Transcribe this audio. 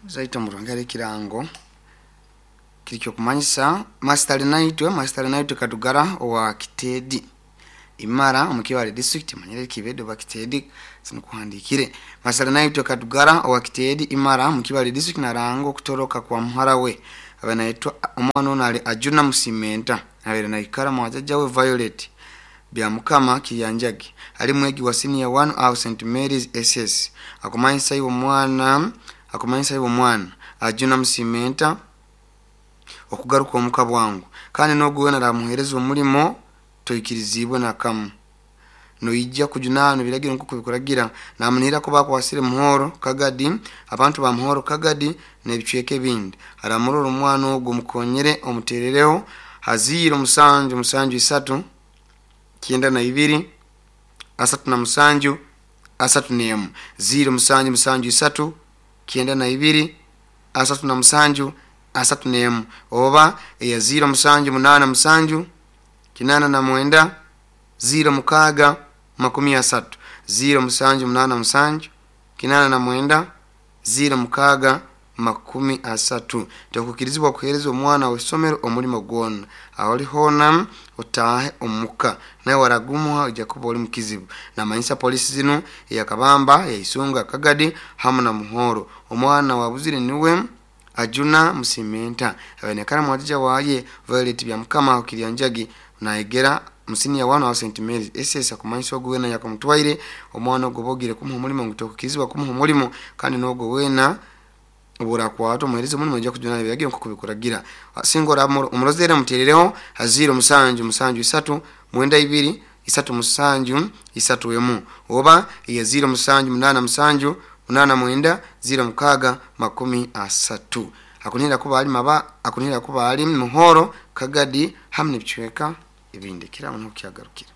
Zaita omuruhanga ekirango kiri kyokumanyisa Masitali Naitwe Kadugara owa Kiteedi Imara omu Kibale District, manyire Kibedi oba Kiteedi sinukuhandikire. Masitali Naitwe Kadugara owa Kiteedi Imara mu Kibale District naranga okutoroka kwa muhara we abe naitwa omwana ono ali Ajuna Musimenta, abaire naikara mwajaja we Violet Byamukama Kiryanjagi, ali mwegi wa senior 1 aho St Mary's SS. Akumanyisa iwe omwana Ajuna Musimenta okugaruka omuka bwangu, kandi nogu wena aramuhereza omulimo toikirizibwe nakamu, noija kujunanwa ebiragiro nkoku bikuragira. Namunihira kuba akwasire Muhoro Kagadi, abantu ba Muhoro Kagadi n'ebicweka ebindi aramurora omwana ogu, omukonyere, omuterereho ha 0 7 7 3 92 37 31, 0 7 7 3 92 37 31, oba eya 0 7 8 7 89 06 30, 0 7 8 7 89 06 30. Tokukirizibwa kuhereza omwana w'isomero omulimo gwona. Aho oli hoona otaahe omuka, nawe waragumuha ojja kuba oli mukizibu. Namanyisa polisi zinu eyakabamba yaisunga Kagadi hamu na Muhoro. Omwana wabuzire niwe Ajuna Musimenta, abainekara mwajija waye Violet Byamukama Kiryanjagi, nayegera mu senior 1 wa St Mary's SS. Akumanyisa ogu wena yakamutwaire omwana ogwo bogire kumuha omulimo ngu tokukirizibwa kumuha omulimo, kandi n'ogwo wena oburakwata omuhereza omulimo ojja kujunana ebiragiro nkoku bikuragira. Singa omurozere, omuterereho ha 0 7 7 3 92 37 31, oba eya 0 7 8 7 89 06 30. Akunihira kuba ali maba, akunihira kuba ali Muhoro Kagadi hamu n'ebicweka ebindi. Kiraho niho kyagarukira.